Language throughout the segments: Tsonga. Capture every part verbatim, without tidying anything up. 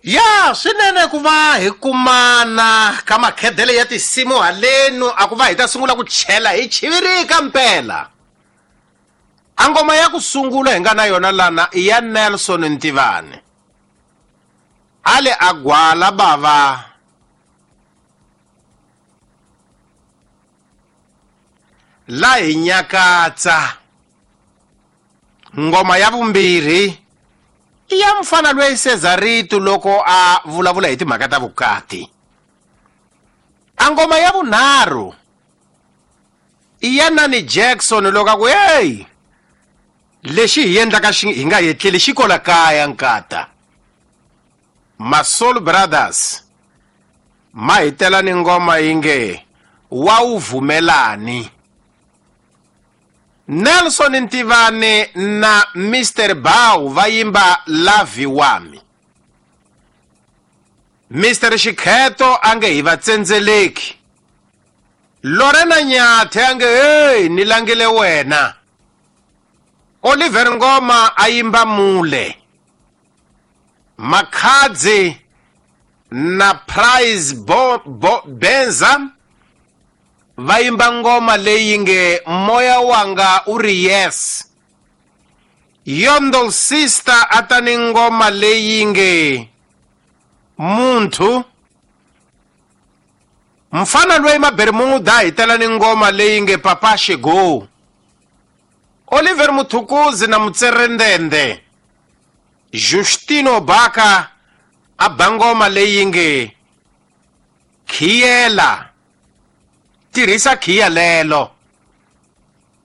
Ya swinene ku va hi kumana ka makhedele ya tinsimu halenu a ku va hi ta sungula ku chela hi chivirika mpela. A ngoma ya ku sungula hi nga na yona lana i ya Nelson Ntivani. Ale a gwala bava la hi nyakatsa. Ngoma ya vumbirhi i ya mfana loyi Cesarito loko a vulavula hi timhaka ta vukati. A ngoma ya vunharhu i ya Nani Jackson loko a ku hey lexi hi endlaka xi hi nga yetleli xi kola kaya nkata. Masol Brothers ma hi tela ni ngoma yi nge wa wu vumelani. Nelson Ntivani na Mister Bau va yimba Lavi Wami. Mister Xikheto a nge hi va tsendzeleki. Lorena Nyathe a nge hey ni langile wena. Oliver Ngoma a yimba Mule. Makhadzi na Prize Bo, Bo, Benza va yimba ngoma leyi nge moya wanga u ri yes. Yondol Sister a ta ni ngoma leyi nge muntu. Mfana loyi Mabermuda hi tela ni ngoma leyi nge Papa Shego. Oliver Muthukuzi na Mutserendende Justino Baka a ba ngoma leyi nge Khiela. Tirhisa khiya lelo.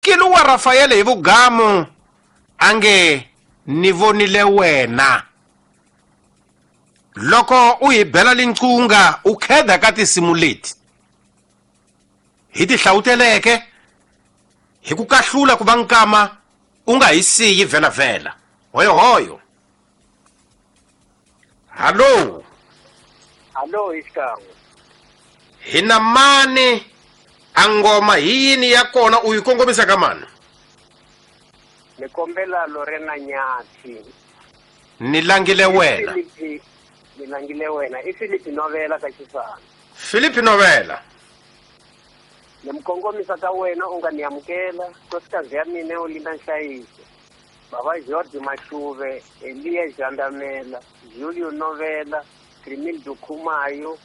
Kiluwa Rafael hi vugamu a nge ni vonile wena. Loko u hi bela linqunga u kheda ka tinsimu leti hi ti hlawuteleke hi ku kahlula ku va nkama u nga hi siyi vhelavhela. Hoyohoyo. Hallo. Hallo xikan'we. Hi na mani? A ngoma hi yini ya kona u yi kongomisa ka mani? Ni kombela Lorena Nyathi. Ni langile wena. Ni langile wena. I Philip Novela ka Xisana. Philip Novela. Ni mukongomisa ka wena u nga ni amukela. Nkosikazi ya mina u Linda Nhlayiso. Baba George Mashuve, Elia Jandamela, Julio Novela, Crimildo Khumayo,